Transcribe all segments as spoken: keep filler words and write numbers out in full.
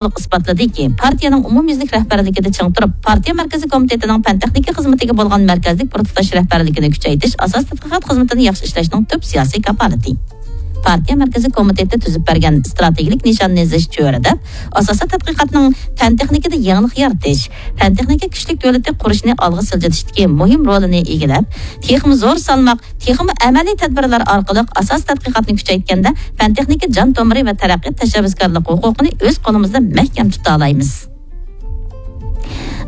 ئىسپاتلىدىكى، پارتىيەنىڭ ئومۇميۈزلۈك رەھبەرلىكىدە چىڭ تۇرۇپ، پارتىيە مەركىزىي كومىتېتىنىڭ پەن-تېخنىكا خىزمىتىگە بولغان مەركەزلىك بىر تۇتاش رەھبەرلىكىنى كۈچەيتىش ئاساسىي تەتقىقات خىزمىتىنى ياخشى ئىشلەشنىڭ تۈپ سىياسىي كاپالىتى. پارتىيە مەركىزىي كومىتېتى تۈزۈپ بەرگەن ئىستراتېگىيەلىك نىشاننى يېزىش چۆرىدەپ، ئاساسىي تەتقىقاتنىڭ پەن-تېخنىكىدا يېڭىلىق يارىتىش، پەن-تېخنىكا كۈچلۈك دۆلىتى قۇرۇشنى ئالغا سىلجىتىشتىكى مۇھىم رولىنى ئىگىلەپ، تېخىمۇ زور سالماق، تېخىمۇ ئەمەلىي تەدبىرلەر ئارقىلىق ئاساسىي تەتقىقاتنى كۈچەيتكەندە، پەن-تېخنىكا جان تومۇرى ۋە تەرەققىيات تەشەببۇسكارلىق ھوقۇقىنى ئۆز قولىمىزدا مەھكەم تۇتالايمىز.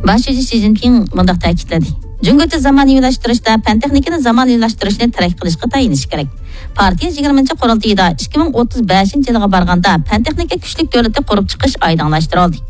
باش شۇجى شى جىنپىڭ مۇنداق تەكىتلىدى: جۇڭگوچە زامانىۋىلاشتۇرۇشتا پەن-تېخنىكىنى زامانىۋىلاشتۇرۇشنى تەرەققىي قىلىشقا تايىنىش كېرەك. پارتىيە يىگىرمىنچى قۇرۇلتىيىدا ئىككى مىڭ ئوتتۇز بەشىنچى يىلغا بارغاندا پەن-تېخنىكا كۈچلۈك دۆلىتى قۇرۇپ چىقىش ئايدىڭلاشتۇرۇلدى.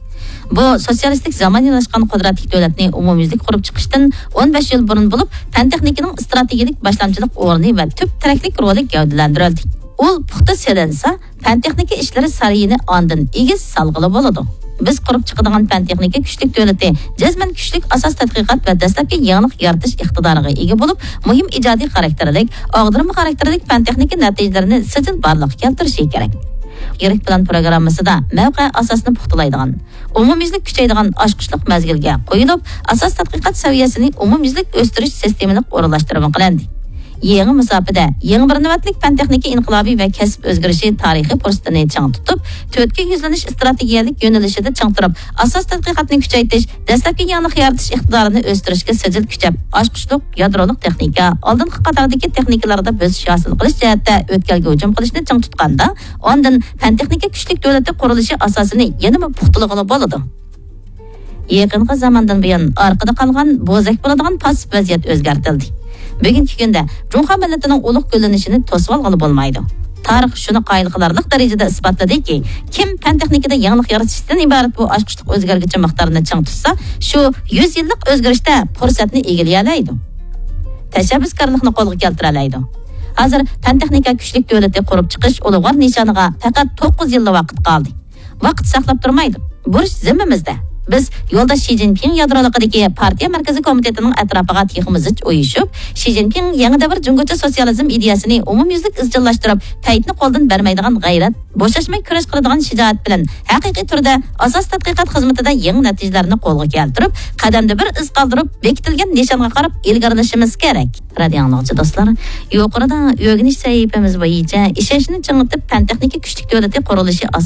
بۇ سوتسىيالىستىك زامانىۋىلاشقان قۇدرەتلىك دۆلەتنى ئومۇميۈزلۈك قۇرۇپ چىقىشتىن ئون بەش يىل بۇرۇن بولۇپ، پەن-تېخنىكىنىڭ ئىستراتېگىيەلىك باشلامچىلىق ئورنى ۋە تۈپ تىرەكلىك رولى گەۋدىلەندۈرۈلدى. ئۇل پۇختا سېلىنسا، پەن-تېخنىكا ئىشلىرى سارىيىنى ئاندىن ئېگىز سالغىلى بولىدۇ. بىز قۇرۇپ چىقىدىغان پەن-تېخنىكا كۈچلۈك دۆلىتى جەزمەن كۈچلۈك ئاساس تەتقىقات ۋە دەسلەپكى يېڭىلىق يارىتىش ئىقتىدارىغا ئىگە بولۇپ، مۇھىم ئىجادىي خاراكتېرلىك، ئاغدۇرما خاراكتېرلىك پەن-تېخنىكا نەتىجىلىرىنى سىجىل بارلىققا كەلتۈرۈشى كېرەك. يىرىك پىلان پروگراممىسىدا مەۋقە ئاساسىنى پۇختىلايدىغان، ئومۇميۈزلۈك كۈچەيدىغان ئاچقۇچلۇق مەزگىلگە قويۇلۇپ، ئاساس تەتقىقات سەۋىيەسىنى ئومۇميۈزلۈك ئۆستۈرۈش سىستېمىلىق ئورۇنلاشتۇرما قىلىندى. يېڭى مۇساپىدە يېڭى بىر نۆۋەتلىك پەن-تېخنىكا ئىنقىلابى ۋە كەسىپ ئۆزگىرىشى تارىخىي پۇرسىتىنى چىڭ تۇتۇپ، تۆتكە يۈزلىنىش ئىستراتېگىيەلىك يۆنىلىشىدە چىڭ تۇرۇپ، ئاساس تەتقىقاتنى كۈچەيتىش، دەسلەپكى يېڭىلىق يارىتىش ئىقتىدارىنى ئۆستۈرۈشكە سىجىل كۈچەپ، ئاچقۇچلۇق، يادرولۇق تېخنىكا، ئالدىنقى قاتاردىكى تېخنىكىلاردا بۆسۈش ھاسىل قىلىش جەھەتتە ئۆتكەلگە ھۇجۇم قىلىشنى چىڭ تۇتقاندا، ئاندىن پەن-تېخنىكا كۈچلۈك دۆلىتى قۇرۇلۇشى ئاساسىنى يەنىمۇ پۇختىلىغىلى بولىدۇ. يېقىنقى زاماندىن بۇيان ئارقىدا قالغان، بوزەك بولىدىغان پاسسىپ ۋەزىيەت ئۆزگەرتىلدى. بۈگۈنكى كۈندە جۇڭخۇا مىللىتىنىڭ ئۇلۇغ گۈللىنىشىنى توسۇۋالغىلى بولمايدۇ. تارىخ شۇنى قايىل قىلارلىق دەرىجىدە ئىسپاتلىدىكى، كىم پەن-تېخنىكىدا يېڭىلىق يارىتىشتىن ئىبارەت بۇ ئاچقۇچلۇق ئۆزگەرگۈچى مىقدارنى چىڭ تۇتسا، شۇ يۈز يىللىق ئۆزگىرىشتە پۇرسەتنى ئىگىلىيەلەيدۇ. تەشەببۇسكارلىقنى قولغا كەلتۈرەلەيدۇ. ھازىر پەن-تېخنىكا كۈچلۈك دۆلىتى قۇرۇپ چىقىش ئۇلۇغۋار نىشانىغا پەقەت توققۇز يىللا ۋاقىت قالدى. ۋاقىت ساقلاپ تۇرمايدۇ. بۇرچ زىممىمىزدە. بىز يولداش شى جىنپىڭ يادرولۇقىدىكى پارتىيە مەركىزىي كومىتېتىنىڭ ئەتراپىغا تېخىمۇ زىچ ئۇيۇشۇپ، شى جىنپىڭ يېڭى دەۋر جۇڭگوچە سوتسىيالىزم ئىدىيەسىنى ئومۇميۈزلۈك ئىزچىللاشتۇرۇپ، پەيتنى قولدىن بەرمەيدىغان غەيرەت، بوشاشماي كۈرەش قىلىدىغان شىجائەت بىلەن ھەقىقىي تۈردە ئاساس تەتقىقات خىزمىتىدە يېڭى نەتىجىلەرنى قولغا كەلتۈرۈپ، قەدەمدە بىر ئىز قالدۇرۇپ، بېكىتىلگەن نىشانغا قاراپ ئىلگىرىلىشىمىز كېرەك. رادىئو ئاڭلىغۇچى دوستلار، يۇقىرىدا ئۆگىنىش سەھىپىمىز بويىچە ئىشەنچنى چىڭىتىپ، پەن-تېخنىكا كۈچلۈك دۆلىتى قۇرۇلۇشى ئاساسىي